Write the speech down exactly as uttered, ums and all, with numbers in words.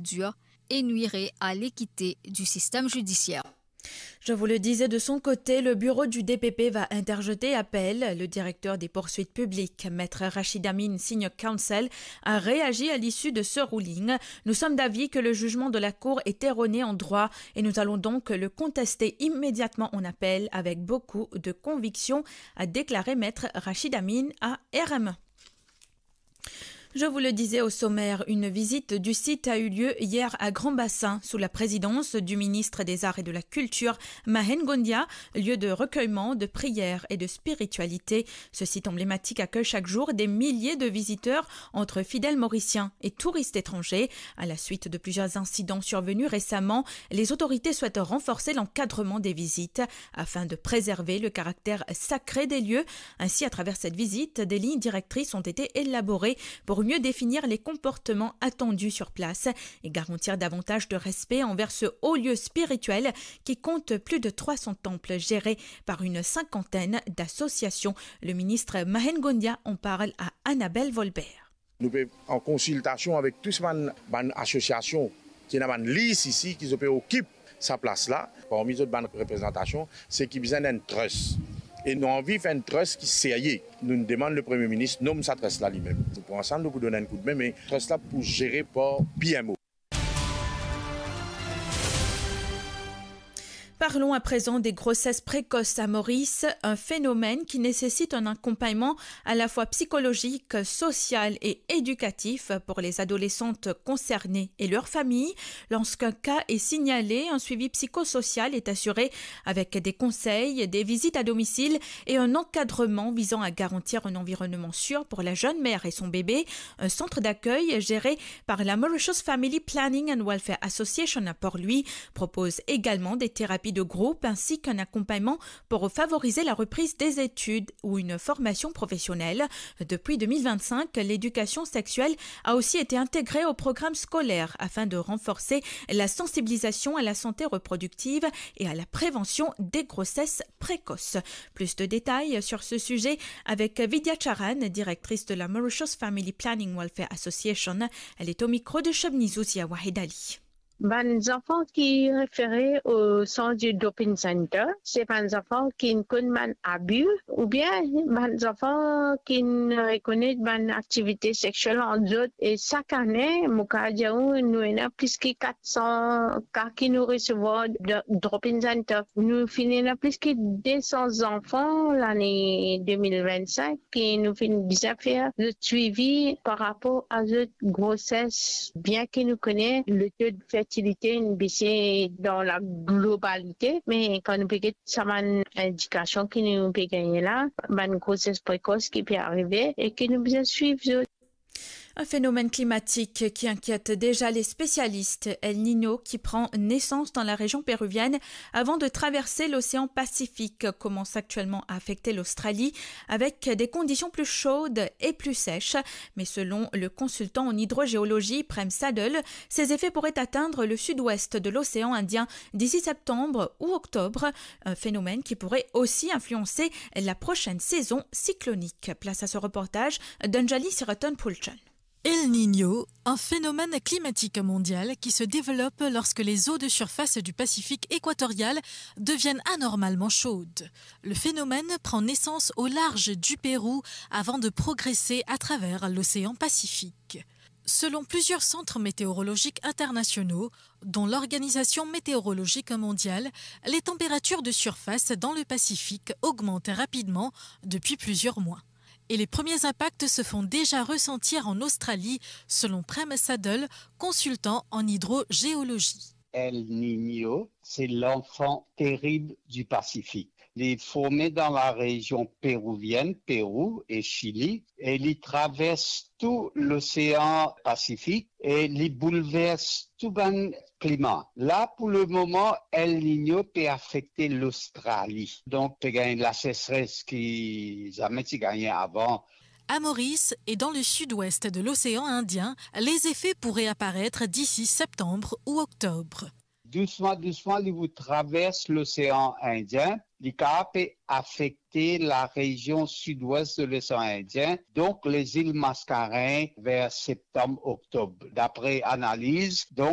dur et nuirait à l'équité du système judiciaire. Je vous le disais, de son côté, le bureau du D P P va interjeter appel. Le directeur des poursuites publiques, Maître Rachid Amin, Senior Counsel, a réagi à l'issue de ce ruling. Nous sommes d'avis que le jugement de la Cour est erroné en droit et nous allons donc le contester immédiatement en appel avec beaucoup de conviction, a déclaré Maître Rachid Amin à R M un. Je vous le disais au sommaire, une visite du site a eu lieu hier à Grand-Bassin sous la présidence du ministre des Arts et de la Culture, Mahen Gondia, lieu de recueillement, de prière et de spiritualité. Ce site emblématique accueille chaque jour des milliers de visiteurs entre fidèles mauriciens et touristes étrangers. À la suite de plusieurs incidents survenus récemment, les autorités souhaitent renforcer l'encadrement des visites afin de préserver le caractère sacré des lieux. Ainsi, à travers cette visite, des lignes directrices ont été élaborées pour mieux définir les comportements attendus sur place et garantir davantage de respect envers ce haut lieu spirituel qui compte plus de trois cents temples gérés par une cinquantaine d'associations. Le ministre Mahen Gondia en parle à Annabelle Volbert. Nou pe an konsiltasion avek tou bann, bann asosiasion ki ena bann lis isi, ki zot pe okip sa plas la. Parmi zot bann reprezantasion, se ki bizin enn trust. E nou anvi fer enn trust ki serye. Nou demann le Premie Minis nom sa trust la limem. Nou pou ansam, nou pou donn enn koudme, me trust la pou zere par P M O. Parlons à présent des grossesses précoces à Maurice, un phénomène qui nécessite un accompagnement à la fois psychologique, social et éducatif pour les adolescentes concernées et leurs familles. Lorsqu'un cas est signalé, un suivi psychosocial est assuré avec des conseils, des visites à domicile et un encadrement visant à garantir un environnement sûr pour la jeune mère et son bébé. Un centre d'accueil géré par la Mauritius Family Planning and Welfare Association à Port-Louis propose également des thérapies de groupe ainsi qu'un accompagnement pour favoriser la reprise des études ou une formation professionnelle. Depuis deux mille vingt-cinq, l'éducation sexuelle a aussi été intégrée au programme scolaire afin de renforcer la sensibilisation à la santé reproductive et à la prévention des grossesses précoces. Plus de détails sur ce sujet avec Vidya Charan, directrice de la Mauritius Family Planning Welfare Association. Elle est au micro de Shabni Zouzia Wahed Ali. Bann zanfan ki refere o sant de Drop-in Center, se bann zanfan ki konn bann abi, oubien bann zanfan ki rekonet bann aktivite sexiel ant zot. E sak ane, mo kapav dir ou, nou ena plis ki kat san ka ki nou resevwar dan Drop-in Center. Nou finn ena plis ki de san zanfan lane de mil vinn-sink ki nou finn bizin fer zot swivi par rapor a zot groses. Bien ki nou kone le to de fertilite inn bese dan la globalite, me kan nou pe get sa bann indikasion ki nou pe gagne la, bann groses prekos ki pe arive e ki nou bizin swiv zot. Un phénomène climatique qui inquiète déjà les spécialistes, El Niño, qui prend naissance dans la région péruvienne avant de traverser l'océan Pacifique, commence actuellement à affecter l'Australie avec des conditions plus chaudes et plus sèches. Mais selon le consultant en hydrogéologie, Prem Saddle, ses effets pourraient atteindre le sud-ouest de l'océan Indien d'ici septembre ou octobre, un phénomène qui pourrait aussi influencer la prochaine saison cyclonique. Place à ce reportage d'Anjali Siraton Pulchan. El Niño, un phénomène climatique mondial qui se développe lorsque les eaux de surface du Pacifique équatorial deviennent anormalement chaudes. Le phénomène prend naissance au large du Pérou avant de progresser à travers l'océan Pacifique. Selon plusieurs centres météorologiques internationaux, dont l'Organisation météorologique mondiale, les températures de surface dans le Pacifique augmentent rapidement depuis plusieurs mois. Et les premiers impacts se font déjà ressentir en Australie, selon Prem Saddle, consultant en hydrogéologie. El Niño, c'est l'enfant terrible du Pacifique. Il est formé dans la région péruvienne, Pérou et Chili, et il traverse tout l'océan Pacifique et il bouleverse tout bann klima. La, pou lemoman, El Niño pe afekte Lostrali. Donk, pe gagn lasesres ki zame ti gagne avan. À Maurice et dans le sud-ouest de l'océan Indien, les effets pourraient apparaître d'ici septembre ou octobre. Dousman, dousman, li pou travers l'océan Indien. Li kapav pe afekte la région sud-ouest de l'océan Indien, donc les îles Mascareignes vers septembre, octobre. D'après analyse, donc,